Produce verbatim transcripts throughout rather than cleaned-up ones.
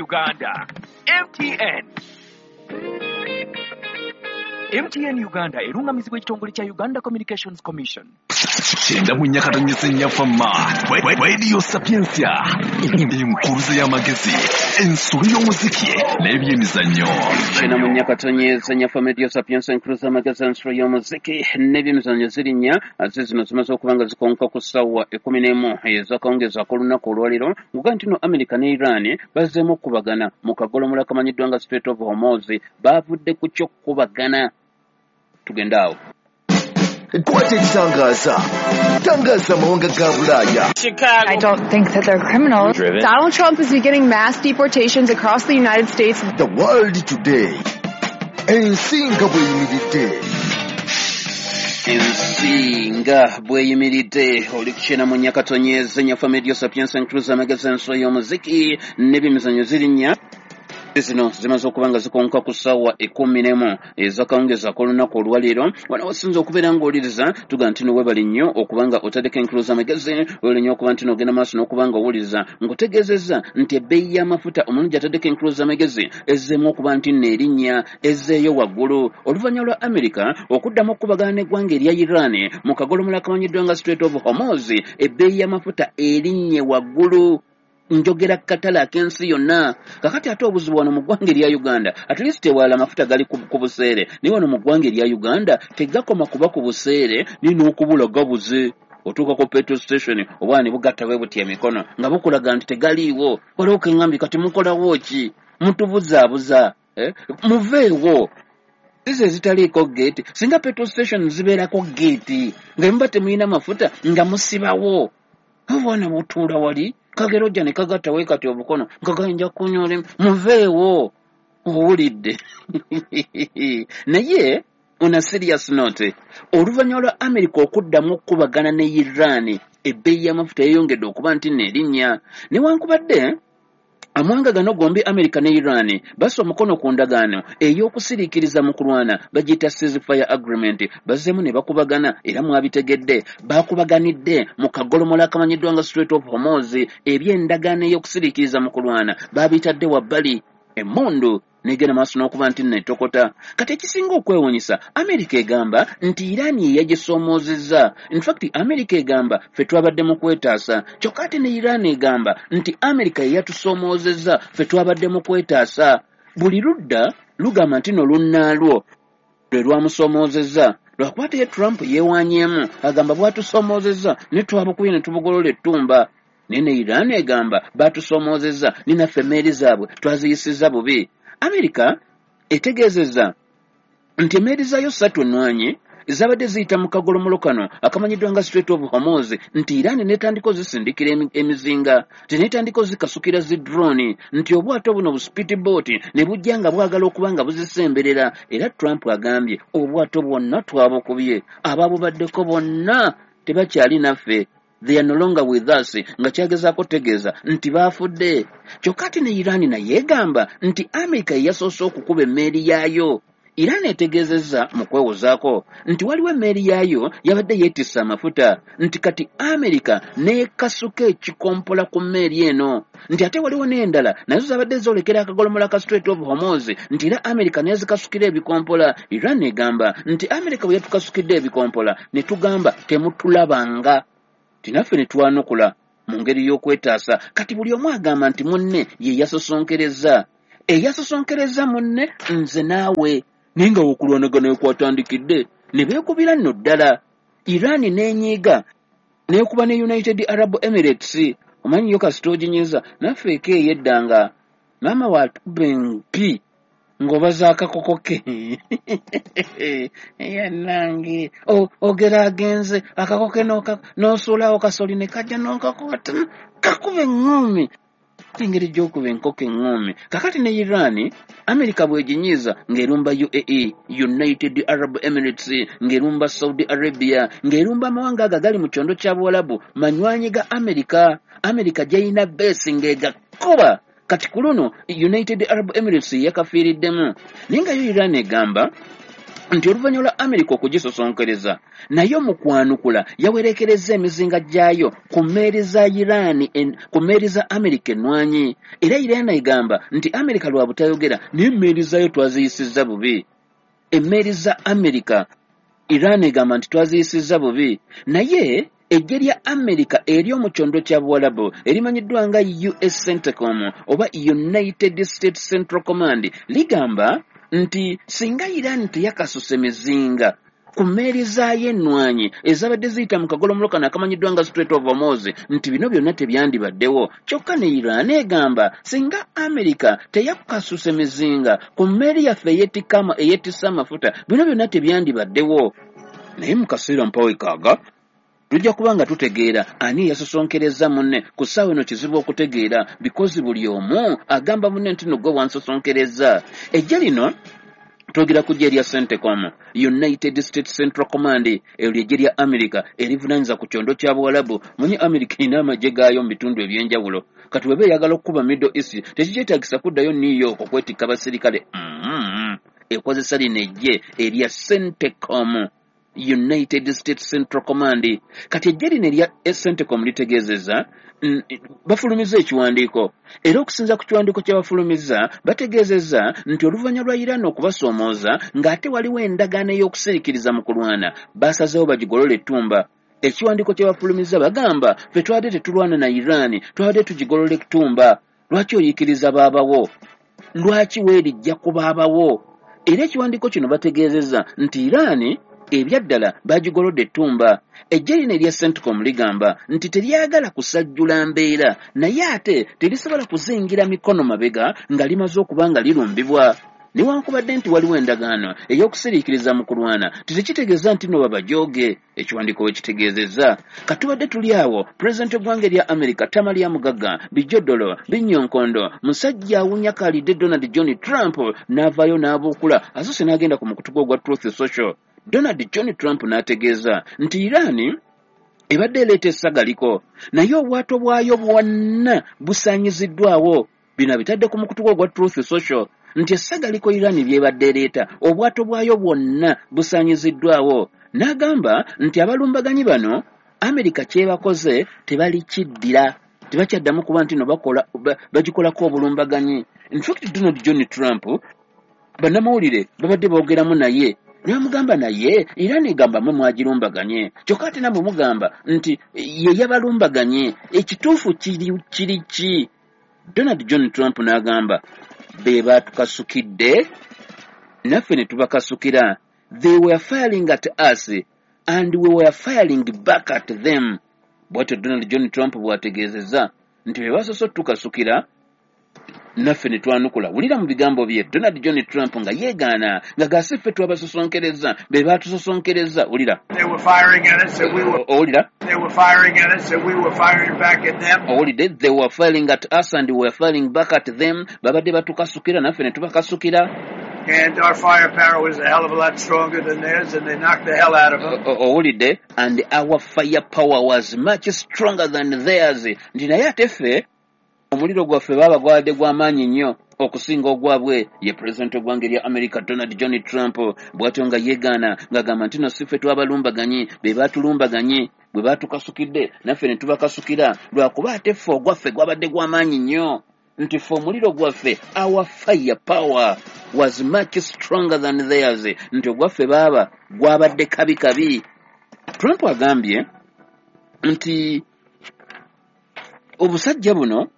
Uganda. M T N. M T N Uganda erungamizibwa ekitongole kya Uganda Communications Commission. Kyenda mu nnya katonyeze nnya fama. Radio Sapientia. Enkuruze y'amagezi, ensolo y'omuziki n'ebyemizannyo. Kyenda mu nnya katonyeze nnya fama Radio Sapientia, enkuruze y'amagezi, ensolo y'omuziki n'ebyemizannyo ziri nnya. Ate zino zimaze okuba nga zikonka ku ssaawa ekkumi n'emu ez'akawungeezi ak'olunaku olwaleero. Nguga nti no America ne Iran bazzeemu okukubagana mu kagolomola akamanyiddwa nga Strait of Hormuz. Baavudde ku ky'okukubagana. Tugenda awo. Kwata ekitangaza. Tangaza amawanga ga Bulaaya. Chicago. I don't think that they're criminals. Driven. Donald Trump is beginning mass deportations across the United States. The World Today. Ensi nga bw'eyimiridde. Ensi nga bw'eyimiridde. Oli ku kyenda mu nnya katonyeze nnya fama Radio Sapientia, enkuruza amagezi, ensolo y'omuziki n'ebyemizannyo ziri nnya. Zino zimaze okuba nga zikonka ku ssaawa ekkumi n'emu ez'akawungeezi ak'olunaku olwaleero. Wano wasinze okubeera ng'owuliriza, tugamba nti no weebale nnyo okuba nga otaddeko enkuluza amagezi, weebale nnyo okuba nti n'ogenda maaso n'okuba nga owuliriza. Nkutegeezezza nti ebbeeyi y'amafuta omulungi ataddeko enkuluza amagezi ezzeemu okuba nti nno erinnya ezzeeyo waggulu oluvannyuma lwa America okuddamu okukubagana n'eggwanga erya Iran mu kagolomola akamanyiddwa nga Strait of Hormuz. Ebbeeyi y'amafuta erinnye waggulu. Njogera katale ak'ensi yonna. Kakati ate obuzibu wano mu ggwanga erya Uganda, at least ewalala amafuta gali ku, ku buseere, naye wano mu ggwanga erya Uganda tegakoma kuba ku buseere, naye n'okubula gabuze. Otuuka ku petrol station obwana ne bugatta bwe buti emikono nga bukulaga nti tegaliiwo. Waliwo keŋŋambye kati mukolawo ki? Mutubuzaabuza, eh? Muveewo. Zizo ezitaliiko geeti, singa petrol station zibeerako geeti nga muba temulina mafuta nga musibawo. Obwana butuula wali kagera ojja ne kagatta we kati obukono nga gayinja kunyoola, muveewo. Owulidde. Naye on a serious note, oluvannyuma lwa America okuddamu okukubagana ne Iran, ebbeeyi y'amafuta yeeyongedde okuba nti nno erinnya. Newankubadde amawanga gano gombi America ne Iran bassa omukono ku ndagaano ey'okusiriikiriza mu kulwana, bagiyita ceasefire agreement. Bazzeemu ne bakubagana era mwabitegedde, bakubaganidde mu kagolomola akamanyiddwa nga Strait of Hormuz. Eby'endagaano ey'okusiriikiriza mu kulwana baabitadde wabbali, emmundu negenda maaso n'okuba nti nno etokota. Kati ekisinga okwewuunyisa, America egamba nti Iran ye yagisoomoozezza. In fact, America egamba ffe twabadde mu kwetaasa, kyokka ate ne Iran egamba nti America ye yatusoomoozezza, ffe twabadde mu kwetaasa. Buli ludda lugamba nti no lunnaalwo lwe lwamusoomoozezza. Lwakuba ate ye Trump yeewaanyeemu, agamba bw'atusoomoozezza ne twabukubye ne tubugolola ettumba. Naye ne Iran egamba batusoomoozezza, ne naffe emmeeri zaabwe twaziyisizza bubi. America etegeezezza nti emmeeri zaayo ssatu ennwanyi zabadde ziyita mu kagolomolo kano akamanyiddwa nga Strait of Hormuz, nti Iran n'etandika ozisindikira emizinga, nti n'etandika ozikasukira zi drone, nti obwato buno bu speedboat ne bujja nga bwagala okuba nga buzisemberera. Era Trump agambye obwato bwonna twabukubye, ababubaddeko bonna tebakyali naffe, they are no longer with us, nga kyagezaako tegeeza nti baafudde. Kyokka ate ne Iran naye egamba nti America ye yasoose okukuba emmeeri yaayo. Iran etegeezezza mu kwewozaako nti waliwo emmeeri yaayo yabadde yeetisse amafuta, nti kati America n'ekasuka ekikompola ku mmeeri eno, nti ate waliwo n'endala nazo zabadde zoolekera akagolomola ka Strait of Hormuz, nti era America n'ezikasukira ebikompola. Iran egamba nti America bwe yatukasukidde ebikompola ne tugamba temutulabanga, naffe ne twanukula mu ngeri y'okwetaasa. Kati buli omu agamba nti munne ye yasosonkereza, eyasosonkereza munne nze naawe. Naye nga okulwanagana kwatandikidde ne beekubira nno ddala. Iran n'enyiiga n'ekuba ne United Arab Emirates. Omanyi yo kasita oginyiza naffe eka ey'edda nga maama watukuba empi ng'obaza akakoko ke. Yannange ogera agenze akakoko ke n'osuulawo kasoli ne kajja n'okakwata kakuba eŋŋumi. Engeri gy'okuba enkoko eŋŋumi. Kakati ne Iran, America bw'eginyiiza ng'erumba U A E, United Arab Emirates, ng'erumba Saudi Arabia, ng'erumba amawanga ago agali mu kyondo kya Buwalabu, manywanyi ga America. America gy'erina beesi ng'egakuba. Kati ku luno United Arab Emirates yakafiiriddemu. Naye nga yo Iran egamba Nti oluvannyuma lwa Amerika okugisosonkereza, naye mu kwanukula yawerekerezza emizinga gyayo ku mmeeri za Iran, ku mmeeri za Amerika ennwanyi. Era Iran egamba nti Amerika lwa butayogera, naye emmeeri zaayo twaziyisizza bubi. Emmeeri za Amerika Iran egamba nti twaziyisizza bubi, naye eggye lya Amerika ery'omu kyondo kya Buwalabu erimanyiddwa nga U S CENTCOM oba United States Central Command ligamba nti singa Iran teyakasuse mizinga ku mmeeri zaayo ennwanyi ezabadde ziyita mu kagolomolo kano akamanyiddwa nga Strait of Hormuz, nti bino byonna tebyandibaddewo. Kyokka ne Iran egamba singa Amerika teyakasuse mizinga ku mmeeri yaffe eyettisse amafuta, bino byonna tebyandibaddewo. Naye mu kaseera mpawekaaga tujja kuba nga tutegeera ani yasosonkereza munne. Ku ssaawa eno kizibu okutegeera because buli omu agamba munne nti no gwe wansosonkereza. Eggye lino twogera ku ggye lya CENTCOM, United States Central Command, eryo ly'eggye lya Amerika erivunaanyizibwa ku kyondo kya Buwalabu. Munye Amerika erina amagye gaayo mu bitundu eby'enjawulo. Kati bw'eba eyagala okukuba Middle East tekikyetaagisa kuddayo New York okwetikka abasirikale. Mm-hmm. Ekozesa lino eggye erya CENTCOM, United States Central Command. Kati eggye lino erya CENTCOM litegeezezza, bafulumizza ekiwandiiko, era okusinza ku kiwandiiko kye bafulumizza bategeezezza nti oluvannyuma lwa Iran okubasoomooza ng'ate waliwo endagaano ey'okusirikiriza mu kulwana, basazeewo bagigolole ettumba. Ekiwandiiko kye bafulumizza bagamba ffe twabadde tetulwana na Iran, twabadde tugigolola ettumba. Lwaki oyiikiriza baabawo? Lwaki weerijja ku baabawo? Era ekiwandiiko kino bategeezezza nti Iran ebyaddala bagigolodde ettumba. Eggye lino erya CENTCOM ligamba nti teryagala kusajjula mbeera, naye ate terisobola kuzingira mikono mabega nga limaze okuba nga lirumbibwa. Newankubadde nti waliwo endagaano ey'okusiriikiriza mu kulwana, tekitegeeza nti no babajooge. Ekiwandiiko we kitegeezezza. Katubadde tuli awo, pulezidenti w'eggwanga erya Amerika Tamalya Mugagga Bijodolo Binyonkondo musajja awunya kalidde Donald John Trump n'avaayo n'abuukula asoose n'agenda ku mukutu gwe ogwa Truth Social. Donald John Trump n'ategeeza nti Iran ebadde ereeta essagaliko, naye obwato bwayo bwonna busaanyiziddwawo. Bino abitadde ku mukutu gwe ogwa Truth Social nti essagaliko Iran by'ebadde ereeta obwato bwayo bwonna busaanyiziddwawo. N'agamba nti abalumbaganyi bano Amerika kyebakoze tebalikiddira, tebakyaddamu kuba nti no bakola bagikolako obulumbaganyi. In fact Donald John Trump bannamawulire babadde boogeramu naye ne bamugamba naye Iran egamba mwe mwagirumbaganye, kyokka ate nammwe mugamba nti ye yabalumbaganye, ekituufu kiri kiri ki? Donald John Trump n'agamba be baatukasukidde naffe ne tubakasukira. They were firing at us and we were firing back at them. Bw'atyo Donald John Trump bw'ategeezezza nti be basoose otukasukira naffe ne twanukula. Wulira mu bigambo bye Donald John Trump nga yeegaana nga gasi ffe twabasosonkereza be baatusosonkereza. Wulira. They were firing at us and we were Owulira. They were firing at us and we were firing back at them. Owulidde, they were firing at us and we were firing back at them. Babadde batukasukira naffe ne tubakasukira. And our firepower was a hell of a lot stronger than theirs, and they knocked the hell out of them. Owulidde, and our firepower was much stronger than theirs. Nti naye ate ffe omuliro gwaffe baaba gwabadde gw'amaanyi nnyo okusinga ogwabwe. Ye pulezidenti w'eggwanga erya Amerika Donald John Trump bw'atyo nga yeegaana ng'agamba nti no si ffe twabalumbaganyi, be baatulumbaganye, bwe baatukasukidde naffe ne tubakasukira, lwakuba ate ffe ogwaffe gwabadde gw'amaanyi nnyo. Nti ffe omuliro gwaffe, our firepower was much stronger than theirs. Nti ogwaffe baaba gwabadde kabi kabi. Trump agambye nti obusajja buno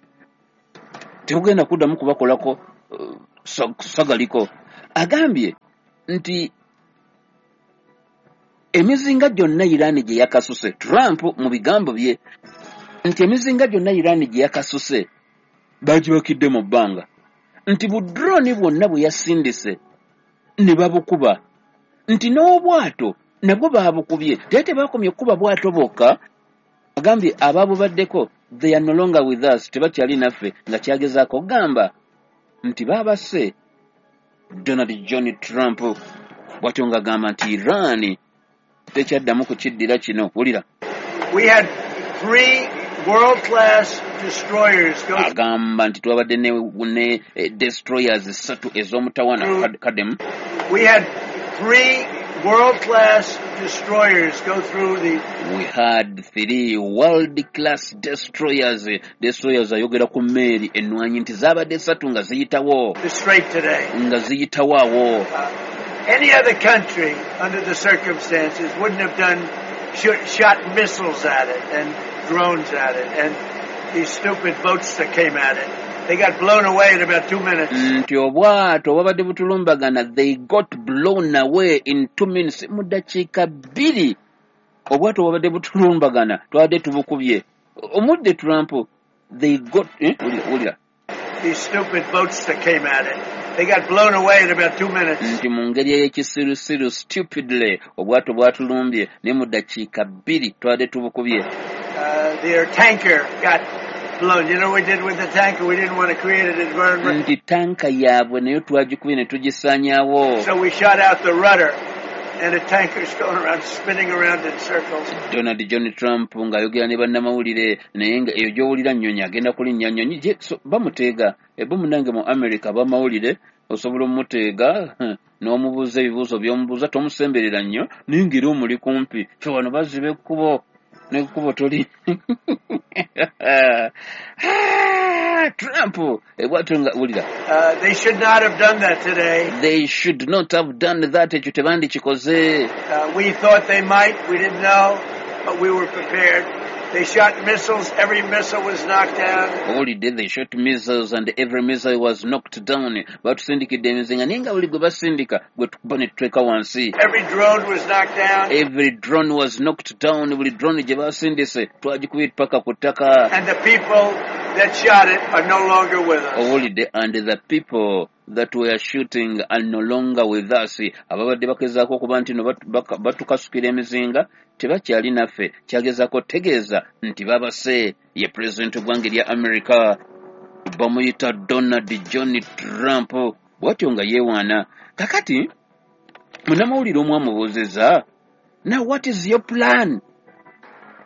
tebugenda kuddamu kubakolako uh, sagaliko. Agambye nti emizinga gyonna Iran gye yakasuse, Trump mu bigambo bye nti emizinga gyonna Iran gye yakasuse bagibakidde mu bbanga, nti budroni bwonna bwe yasindise ne babukuba, nti n'obwato nabwo baabukubye. Naye tebakomye kukuba bwato bwokka, agambye ababubaddeko they are no longer with us, tebakyali naffe, nga kyagezaako okugamba nti baabase Donald John Trump bw'atyo ng'agamba nti Iran tekyaddamu kukiddira kino. Wulira. We had three world-class destroyers go agamba nti twabadde ne, ne eh, destroyers ssatu ez'omutawana. Kademu. We had three world-class destroyers go through the... We had three world-class destroyers. Destroyers ayogera ku mmeeri ennwanyi nti zaabadde ssatu nga ziyitawo. The strait today. Nga ziyitawo awo. Uh, any other country under the circumstances wouldn't have done sh- shot missiles at it and drones at it and these stupid boats that came at it. They got blown away in about two minutes. Nti obwato bwabadde butulumbagana, they got blown away in two minutes. Mu ddakiika bbiri obwato bwabadde butulumbagana twabadde tubukubye. Omudde Trump, they got eh? Wulira, wulira. These stupid boats that came at it. They got blown away in about two minutes. Nti mu ngeri ey'ekisirusiru, stupidly, obwato bwatulumbye naye mu ddakiika bbiri twabadde tubukubye. Uh, their tanker got blown. You know what we did with the tanker? We didn't want to create an environment. Nti tanka yaabwe nayo twagikubye ne tugisaanyaawo. So we shot out the rudder and the tanker's going around, spinning around in circles. Donald John Trump ng'ayogera ne bannamawulire, naye nga eyo gy'owulira nnyonyi agenda kulinnya nnyonyi gye so, bamuteega. Ebo munnange mu America abamawulire osobola omuteega n'omubuuza ebibuuzo by'omubuuza, tomusemberera nnyo naye ng'era omuli kumpi. Ffe wano baziba ekkubo n'ekkubo toli. Trump ebwatu nga wulira. Uh, they should not have done that today. They should not have done that. Ekyo tebandikikoze. Uh, we thought they might. We didn't know, but we were prepared. They shot missiles. Every missile was knocked down. Owulidde, they shot missiles and every missile was knocked down. Batusindikidde emizinga naye nga buli gwe basindika gwe tukuba ne tuteeka wansi. Every drone was knocked down. Every drone was knocked down. Buli drone gye basindise twagikubye paka ku ttaka. And the people that shot it are no longer with us. Owulidde, and the people that were shooting are no longer with us. Ababadde bakezaako okuba nti no batukasukira emizinga tebakyali naffe. Kyagezaako tegeeza nti babase. Ye pulezidenti w'eggwanga erya America bamuyita Donald John Trump, bw'atyo nga yeewaana. Kakati munnamawulire omu amubuuzizza, now what is your plan?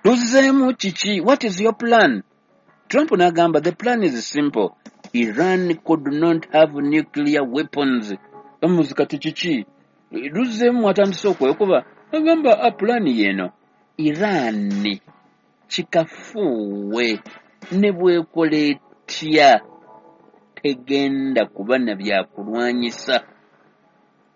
Luzzeemu kiki? What is your plan? Trump n'agamba the plan is simple. Iran could not have nuclear weapons. Bamubuuza kati kiki? Luzzeemu atandise okwekuba. Agamba a plan yeeno. Iran kikafuuwe ne bwekola etya tegenda kuba na byakulwanyisa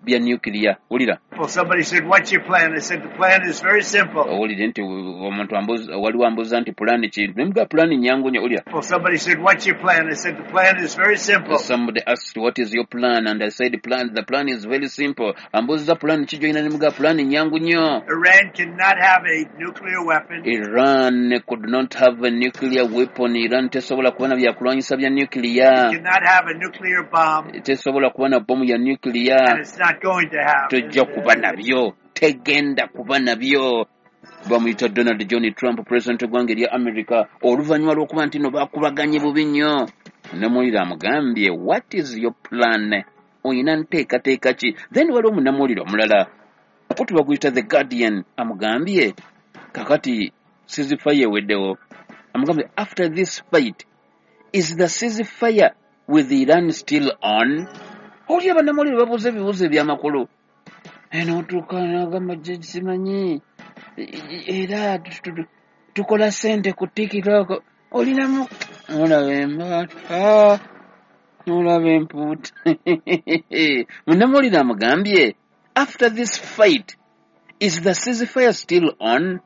bya nuclear. Wulira. Well, somebody said, what's your plan? I said, the plan is very simple. Owulire nti omuntu ambuuza, waliwo ambuuza nti pulaani ki? Ne mugamba pulaani nnyangu nnyo. Wulira. Well, somebody said, what's your plan? I said, the plan is very simple. Somebody asked, what is your plan? And I said, plan, the plan is very simple. Ambuuza pulaani ki gy'olina? Ne mugamba pulaani nnyangu nnyo. Iran cannot have a nuclear weapon. Iran could not have a nuclear weapon. Iran tesobola kuba na byakulwanyisa bya nuclear. It cannot have a nuclear bomb. Tesobola kuba na bomu ya nuclear. And it's not going to have. Tojja kuba nabyo, tegenda kuba nabyo. Bamuyita Donald John Trump, president w'eggwanga erya America, oluvannyuma lw'okuba nti no bakubaganye bubi nnyo. Munnamawulire amugambye, what is your plan? Oyina nteekateeka ki? Then waliwo munnamawulire omulala okutu baguyita The Guardian, amugambye kakati ceasefire eweddewo. Amugambye after this fight, is the ceasefire with Iran still on? Oli abannamawulire babuuza ebibuuzo ebyamakulu. N'otuuka n'agamba simanyi era tukola ssente ku TikTok, olinamu olaba embaata n'olaba empuuta. Munnamawulire amugambye after this fight is the ceasefire still on?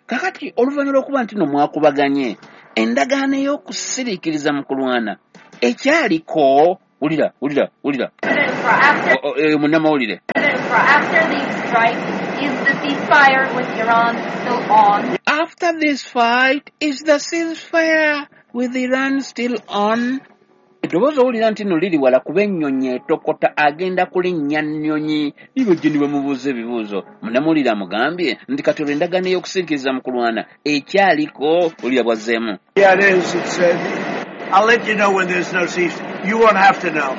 Kakati oluvannyuma lw'okuba nti no mwakubaganye endagaano ey'okusiriikiriza mu kulwana ekyaliko. Wulira, wulira, wulira. Munnamawulire. After these strikes, is the ceasefire with Iran still on? After this fight, is the ceasefire with Iran still on? Eddoboozi owulira nti nno liri wala kuba ennyonyi etokota, agenda kulinnya nnyonyi. Nibajja ne bamubuuza ebibuuzo. Munnamawulire amugambye nti kati olwo endagaano ey'okusiriikiriza mu kulwana ekyaliko. Wulira bw'azzeemu. Yeah, it is. It's, uh, I'll let you know when there's no cease. You won't have to know.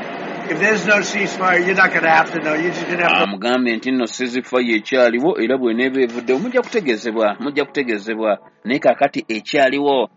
If there's no ceasefire, you're not going to have to know. You're just going to have to... Amugambye nti nno ceasefire ekyaliwo era bw'eneeba evuddewo mujja kutegeezebwa, mujja kutegeezebwa. Naye kaakati ekyaliwo.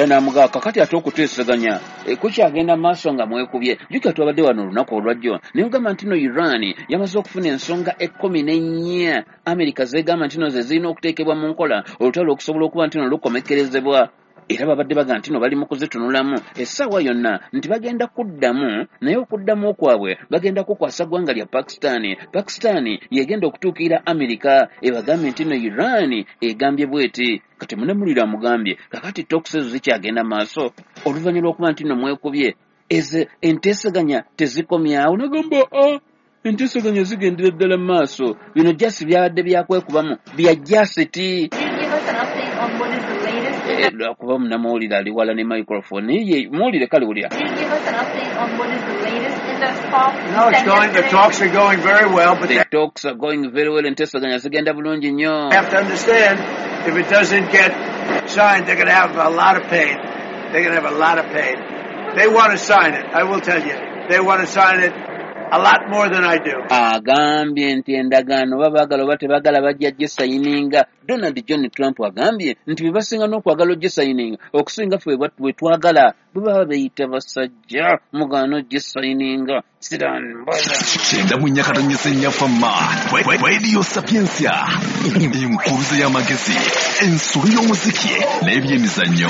Namugaa kakati ate okuteeseganya kukyagenda maaso nga mwekubye. Jjukira twabadde wano olunaku olwajjo naye ogamba nti no Iran yamaze okufuna ensonga ekkumi n'ennya Amerika zeegamba nti no ze zirina okuteekebwa mu nkola olutalo okusobola okuba nti no lukomekkerezebwa. Era babadde baga nti no bali mu kuzitunulamu essaawa yonna nti bagenda kuddamu, naye okuddamu kwabwe bagenda kukwasa ggwanga lya Pakistan. Pakistan yegenda okutuukirira Amerika ebagambye nti no Iran egambye bweti. Kati munnamawulire amugambye kakati talks ezo zikyagenda maaso oluvannyuma lw'okuba nti no mwekubye, ezo enteeseganya tezikomyawo. Nagamba a enteeseganya zigendera ddala mu maaso, bino jasi byabadde byakwekubamu bya jasiti. Lwakuba munnamawulire ali wala ne microphone ye muwulire kale wulira. No, it's going, the talks are going very well, but the talks are going very well. Enteeseganya zigenda bulungi nnyo. Have to understand, if it doesn't get signed, they're going to have a lot of pain. They're going to have a lot of pain. They want to sign it. I will tell you. They want to sign it a lot more than I do. Agambye nti endagaano babaagala oba tebaagala bajja gisayininga. Donald John Trump agambye nti bye basinga n'okwagala ogisayininga okusinga ffe bwe twagala, bwe baba beeyita basajja mugaano gisayininga. Kyenda mu nnya katonyesa ennya fama Radio Sapientia, enkuluze y'amagezi, ensulo y'omuziki n'ebyemizannyo.